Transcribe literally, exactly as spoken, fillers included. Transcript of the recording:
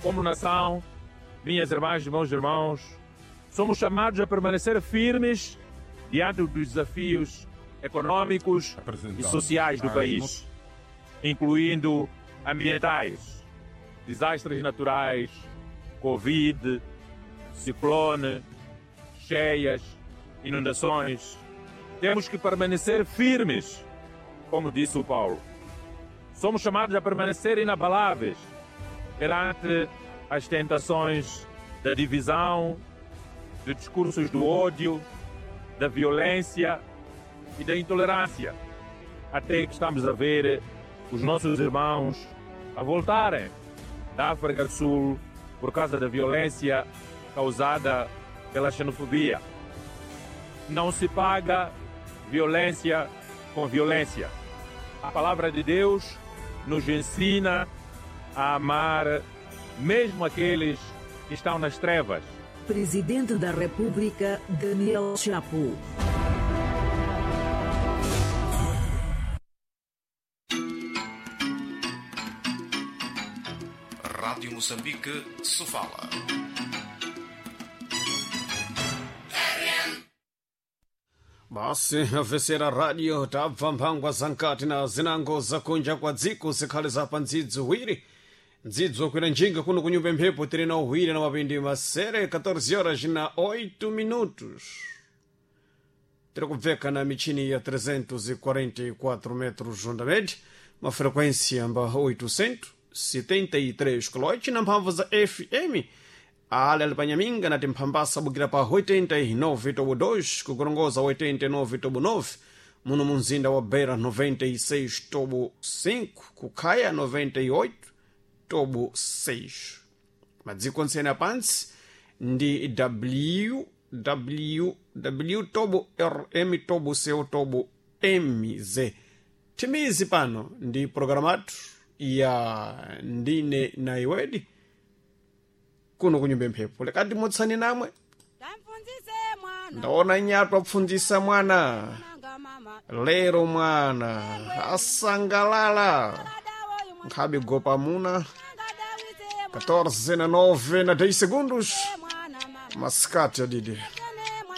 Como nação, minhas irmãs e meus irmãos, somos chamados a permanecer firmes diante dos desafios econômicos e sociais do país, incluindo ambientais, desastres naturais, Covid, ciclone, cheias, inundações. Temos que permanecer firmes, como disse o Paulo. Somos chamados a permanecer inabaláveis perante as tentações da divisão, de discursos do ódio, da violência e da intolerância, até que estamos a ver os nossos irmãos a voltarem da África do Sul por causa da violência causada pela xenofobia. Não se paga violência com violência. A palavra de Deus nos ensina a amar mesmo aqueles que estão nas trevas. Presidente da República, Daniel Chapo. Rádio Moçambique, Sofala. Basi afesera radio tabva mphangwa zankati na zinango zakunja kwa dziko zikhale zapa ndzidzi wiri ndzidzo kwira njinga kuno kunyumba mphepo tiri na uhwiri na mapindi masere catorze horas na oito minutos. Tiri kubveka na michini ya trezentos e quarenta e quatro metros onda média, uma frequência amba oitocentos e setenta e três kHz na mphamvu za F M. Ale ali panyaminga nati mphambasa bukira pa oitenta e nove tobo dois, kukorongoza oitenta e nove tobo nove, muno munzinda wa Beira noventa e seis tobo cinco, kukhaya noventa e oito tobo seis. Madziko ntsene apantsi ndi W W W tobo R M tobo C O tobo M Z. Timizi pano ndi programatu ya Ndine na Iwedi kuno kunyumba mphepo. Lekati mutsani namwe. Tamfunzise mwana. Ndaona nyatu apfundzisa mwana. Nanga mama. Lero mwana asangalala. Dawoyu mwana. Nkhabe gopa muna. Nanga dawise catorze na nove na dez segundos. mwana mama. Masikati adidi.